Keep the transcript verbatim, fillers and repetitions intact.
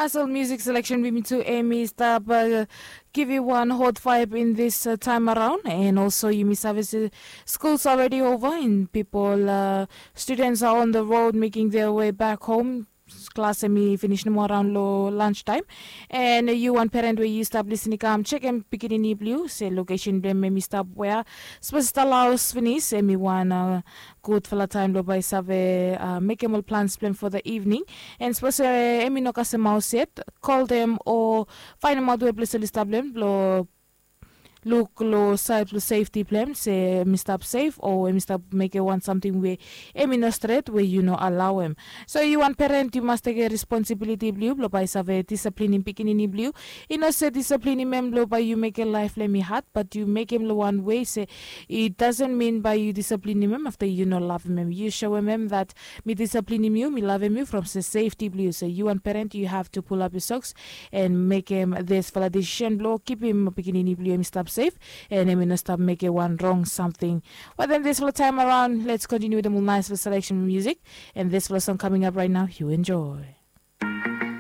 Asol music selection bimi tu emi stap uh, give you one hot vibe in this uh, time around, and also yumi save se schools already over and people uh, students are on the road making their way back home. Klas emi finish nomo around lo lunch time, and you wan parent we you stap listening kam check em pikinini blue se location blem emi stap wea. Suppose stalaus finish emi wan uh, gudfala taem blo bai save uh, mekem ol plans blem for the evening. And suppose uh, emi no kasem haus yet, call them o fainemaot we ples oli stap blem blo luk lo saed blo safety blem se emi stap safe o emi stap mekem wan samting we emi no stret we yu no alawem. So yu wan parent yu mas tekem responsibiliti blio blo bai save disiplinim pikinini blio. I no se disiplinim em blo bai yu mekem laef blem i had, bat yu mekem lo wan wei se i dasen min bai yu disiplinim em afta yu no lavem em. Yu soem em dat mi disiplinim yu, mi lavem yu from se sefti blio. So yu wan parent yu have to pull up yu soks and mekem disfala desisen blo kipim pikinini blio em i stap sef and em i no stap mekem wan rong samting. But then disfala taem araon, let's continue wetem ol naesfala selection music, and disfala song coming up right now, you enjoy.